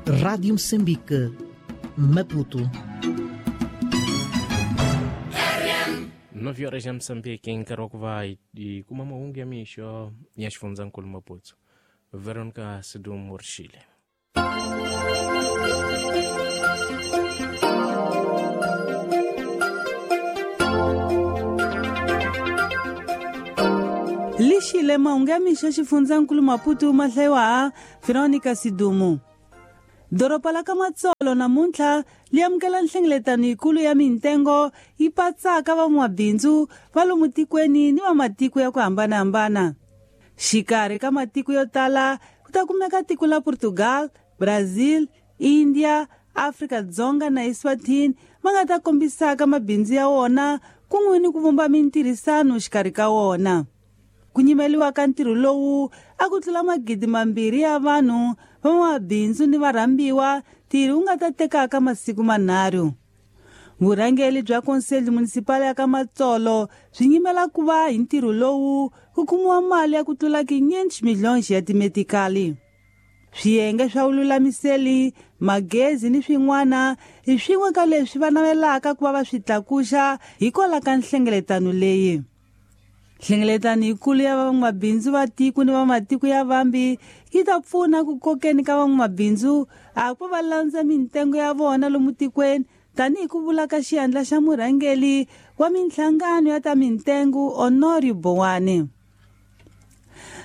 Rádio Moçambique, Maputo. 9 horas ya Moçambique nkarhi wa ku va hi kuma mahungu ya mixo ya xifundzankulu Maputo. Veronica Sidum Murshile. Lixile mahungu ya mixo xifundzankulu Maputo ma hlayiwa Veronica Sidumu. Doroba la ka Matsolo namuntlha li amukela nhlengeletano yikulu ya mintengo yi patsaka van'wabindzu va lomu tikweni ni va matiko ya ku hambanahambana. Xikarhi ka matiko yo tala ku ta kumeka tiko la Portugal, Brazil, India, Afrika-Dzonga na Eswatini va nga ta kombisaka mabindzu ya wona kun'we ni ku vumba mintirhisano xikarhi ka wona. Ku nyimeliwa ka ntirho lowu a ku tlula 2,000 ya vanhu van'wabindzu ni varhambiwa ntirho wu nga ta tekaka masiku manharhu. Vurhangeri bya Conselho Municipal ya ka Matsolo byi nyimela ku va hi ntirho lowu ku kumiwa mali ya ku tlula 500 milhões ya timetikali. Swiyenge swa vululamiseli, magezi ni swin'wana hi swin'we ka leswi va navelaka ku va va swi tlakuxa hikwalaho ka nhlengeletano leyi. Nhlengeletano yikulu ya van'wamabindzu va tiko ni va matiko ya vambi yi ta pfuna ku kokeni ka van'wamabindzu a ku va landza mintengo ya vona lomu tikweni tanihi ku vula ka xiyandla xa murhangeri wa minhlangano ya ta mintengo Honorio Bowani.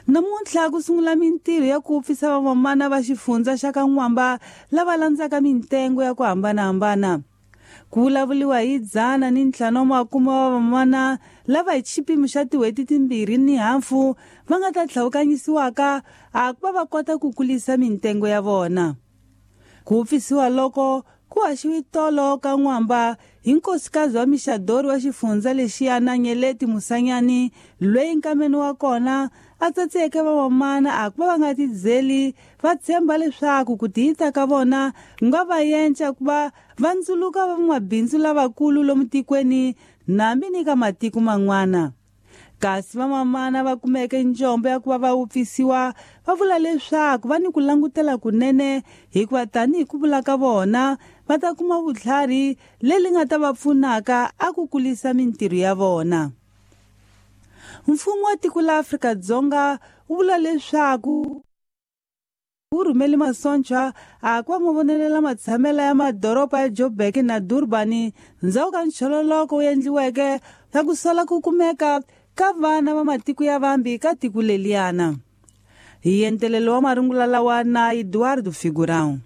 Namuntlha ku sungula mintirho ya ku pfisa vamamana va xifundza xa ka N'wamba lava landzaka mintengo ya ku hambanahambana. Ku vulavuriwa hi 150 wa vamamana lava hi xipimo xa tin'hweti 2.5 va nga ta tlhawukanyisiwaka a ku va va kota ku kulisa mintengo ya vona. Ku pfisiwa loko ku haxiwe tolo ka N'wamba hi nkosikazi wa Mixadori wa xifundza lexiyana Nyeleti Musanyani loyi nkameni wa kona a tsatseke vamamana a ku va va nga tidzeli va tshemba leswaku ku tiyita ka vona ku nga va yenca ku va va ndzuluka van'wabindzu lavakulu lomu tikweni nambi ni ka matiko man'wana. Kasi vamamana va kumeke njombo ya ku va va wupfisiwa va vula leswaku va ni ku langutela kunene hikuva tanihi ku vula ka vona va ta kuma vutlhari leri nga ta va pfunaka a ku kulisa mintirho ya vona. Mfumo wa tiko la Afrika-Dzonga wu vula leswaku wu rhumele masocha a ku va mavonelela matshamela ya madoroba ya Joburg na Durban ndzhaku ka nchololoko wu endliweke ya ku sola ku kumeka ka vana va matiko ya vambi ka tiko leliyana. Hi entelelo wa marungula lawa na Eduardo Figurão.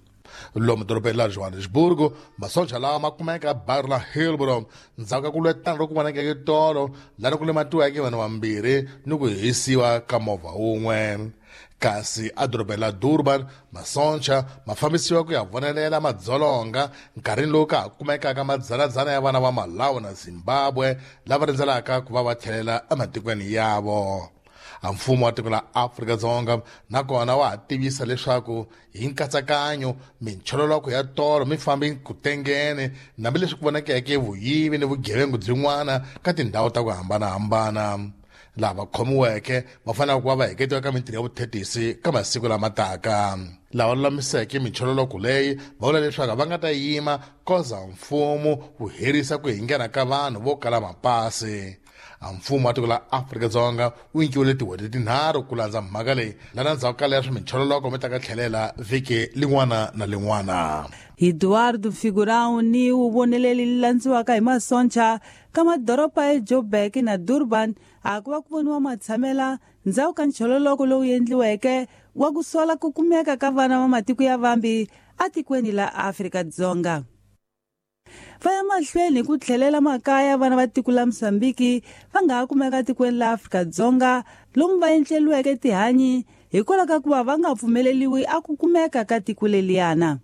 Lomu dorobeni la Johannesburg, masocha lawa ma kumeka baru la Hillbrow ndzhaku ka ku lwetana loku vonakeke tolo laha ku lematiweke vanhu vambirhi ni ku hisiwa ka movha wun'we. Kasi edorobeni la Durban, masocha ma fambisiwa ku ya vonelela madzolonga nkarhini lowu ka ha kumekaka madzanadzana ya vana va Malawi na Zimbabwe lava rindzelaka ku va va tlhelela ematikweni yavo. Mfumo wa tiko la Afrika-Dzonga nakona wa ha tivisa leswaku hi nkatsakanyo minchololoko ya tolo mi fambi ku tengene hambileswi ku vonakeke vuyivi ni vugevengu byin'wana ka tindhawu ta ku hambanahambana. Lava khomiweke va fanele ku va va heketiwa ka mintirho ya vuthetisi ka masiku lama taka. Lava lulamiseke minchololoko leyi va vula leswaku va nga ta yima koza mfumo wu herisa ku hingena ka vanhu vo kala mapasi. Mfumo wa tiko la Afrika-Dzonga wu nyikiwile tin'hweti tinharhu ku landza mhaka leyi lana ndzhaku ka leswi minchololoko mi ta ka tlhelela vhiki lin'wana na lin'wana. Eduardo Figurão ni wu voneleli landziwaka hi masoncha ka madoroba ya Joburg na Durban a ku va ku voniwa matshamela ndzhaku ka nchololoko lowu endliweke wa ku sola ku kumeka ka vana va matiko ya vambi atikweni la Afrika-Dzonga. Va ya mahlweni ku tlhelela makaya vana va tiko la Mozambique va nga ha kumeka tikweni la Afrika-Dzonga lomu va endleliweke tihanyi hikwalaho ka ku va va nga pfumeleliwi a ku kumeka ka tiko leliyana.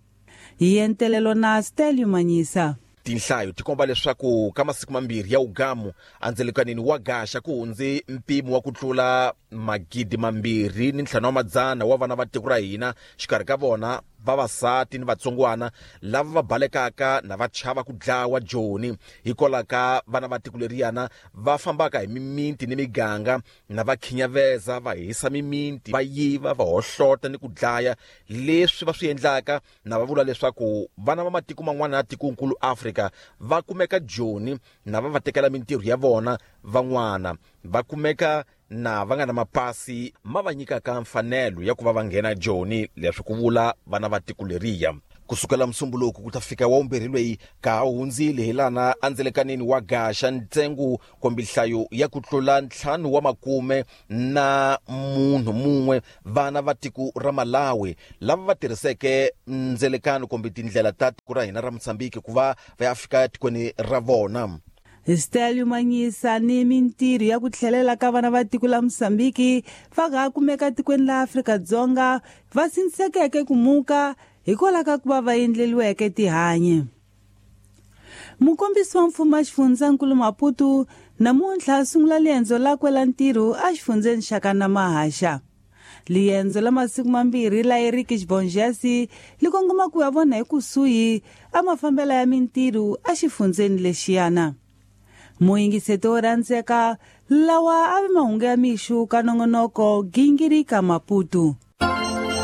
Hi entelelo na Stelio Manyisa. Tinhlayo ti komba leswaku ka masiku mambirhi ya ugamu andzelekanini wa gaxa ku hundze mpimo wa ku tlula 2500 wa vana va tiko ra hina, xikarhi ka vona vavasati ni vatsongwana lava va balekaka na va chava ku dlawa Joni hikwalaho ka vana va tiko leriyana va fambaka hi mimiti ni miganga na va khinyaveza, va hisa mimiti, va yiva, va hohlota ni ku dlaya. Leswi va swi endlaka na va vula leswaku vana va matiko man'wana ya tikonkulu Afrika va kumeka Joni na va va tekela mintirho ya vona, van'wana va kumeka na va nga na mapasi ma va nyikaka mfanelo ya ku va va nghena Joni, leswi ku vula vana va tiko leriya. Kusukela Musumbuluku ku ta fika wa vumbirhi lweyi ka ha hundzile hi lana andzelekaneni wa Gaxa, ntsengo kumbe nhlayo ya ku tlula 50 na munhu mun'we vana va tiko ra Malawi lava va tirhiseke ndzelekano kumbe tindlela ta tiko ra hina ra Mozambique ku va va ya fika tikweni ra vona. Stelio Manyisa ni mintirho ya ku tlhelela ka vana va tiko la Mozambique va nga kumeka tikweni la Afrika-Dzonga va sindzisekeke ku muka hikwalaho ka ku va va endleliweke tihanyi. Mukombisi wa mfumo wa xifundzankulu Maputo namuntlha a sungula liendzo lakwe la ntirho exifundzeni xa ka Namahaxa. Liendzo la masiku mambirhi la Eric Xibonjasi li kongoma ku ya vona hi kusuhi a mafambelo ya mintirho exifundzeni lexiyana. Muyingiseto wo rhandzeka lawa a vi mahungu ya mixo ka nongonoko Gingirika Maputo.